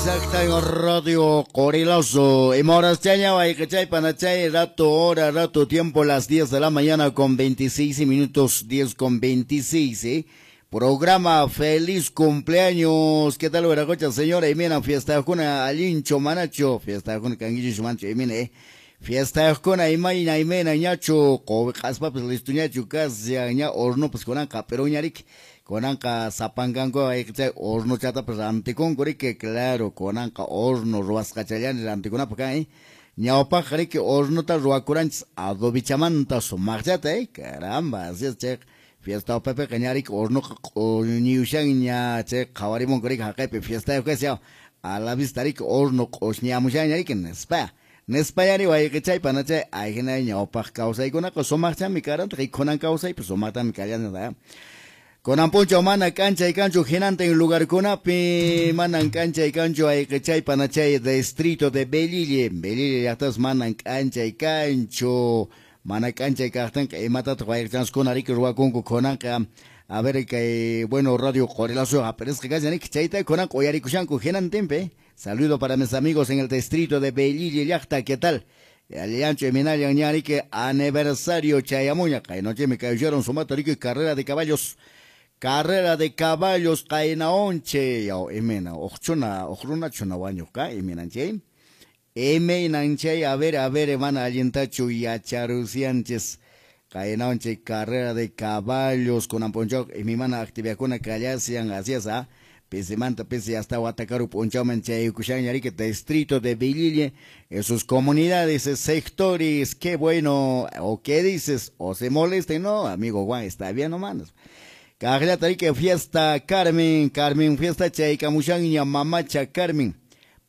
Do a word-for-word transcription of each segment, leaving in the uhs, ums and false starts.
Exacto, Radio Qorilazo. Y moras chaña, chay panachay, rato, hora, rato, tiempo, las diez de la mañana con veintiséis minutos, diez con veintiséis, ¿eh? Programa Feliz Cumpleaños. ¿Qué tal, Veracocha, señora? Y mira, fiesta con Alincho Manacho, fiesta con Canguillo Mancho, y mira, eh. Fiesta con Imayna, Imena, ñacho, Qaspapas, listo, ñacho, casi, ña, horno, pues, conanca, pero ñarik. Kunanqa sapankanku chay hornochatapas rantikunku riki, claro, kunanqa horno ruwasqachallani rantikunapaq kan, eh? Ñawpaqqa riki hornota ruwakuranchis adobichamanta sumaqchata, eh? Caramba, así es, chay fiesta upapiqa ña riki hornoqa q'uñiyushanña, chay qhawarimunku riki haqaypi fiestayuq kashan, a la vista riki horno q'uñiyamushanña riki nispa. Nispayari wayqichay panachay ahina ñawpaq kawsaykunaqa sumaqchami karantaq y kunan kawsaypi sumaqtami kallanqa. Kunan punchaw mana k'anchay kanchu hinantin lugarkunapi, manan k'anchay kanchu ayqichay panachay distrito de Belille, Belille llaqtas manan k'anchay kanchu, mana k'anchay kaqtinqa imatataq wayqichanskuna riki ruwakunku kunanqa, a ver kay bueno Radio Qorilazo aparezca kashan riki chayta kunanqa uyarikushanku hinantinpi. Saludo para mis amigos en el distrito de Belille llaqta, ¿qué tal? Allancho y Minallan ña aniversario chayamuña, kaynochemi kayullaron sumata riki carrera de caballos. Carrera de caballos qaynaonche yaw imena uqchuna uqrunachuna wañuqqa iminanchay imaynanchay a ver a ver mana allintachu yacharusianchis qaynaonche carrera de caballos kunan p'unchaw imimana actividadkuna kallasian así es, ah pisimanta pisi hasta Huatacaru p'unchawman chayaykushanña riki distrito de Belille en sus comunidades, sectores, qué bueno, o qué dices, o se molesten, no, amigo Juan, está bien nomás. Kaqllata riki fiesta Carmen, Carmen fiesta chaykamushanña mamacha Carmen,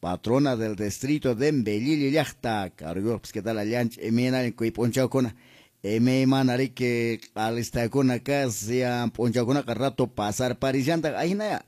patrona del distrito de Belille llaqta, cargo, pues qué tal allanch, imaynallan kuy p'unchawkuna, imaymana riki alistakuna kashan p'unchawkunaqa rato pasar parishantaq ahinaya.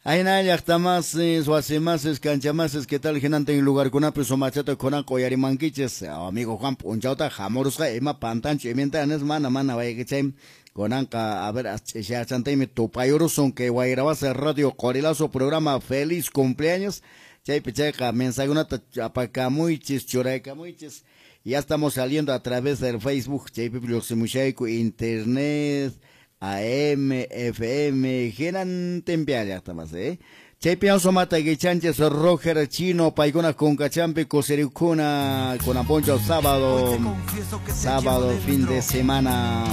Ahina llaqtamasis, wasimasis, kanchamasis, ¿qué tal hinantin lugarkunapi sumachata kunanqa uyarimankichis? Amigo Juan p'unchawta hamurusqa ima pantanchu imintanis mana mana wayqichay kunanqa a ver ch'ishachantaymi tupayurusun kay Wayrawasi Radio Qorilazo programa Feliz Cumpleaños chaypi chayqa mensajekunata apakamuychis churaykamuychis. Ya estamos saliendo a través del Facebook chaypi lluqsimushayku internet A M, F M, hinantinpi llaqtamas, eh? Chaypi sumata guichanches Roger Chino, paykuna kunkachampi kusirikuna kunan punchaw sábado, sábado fin de semana.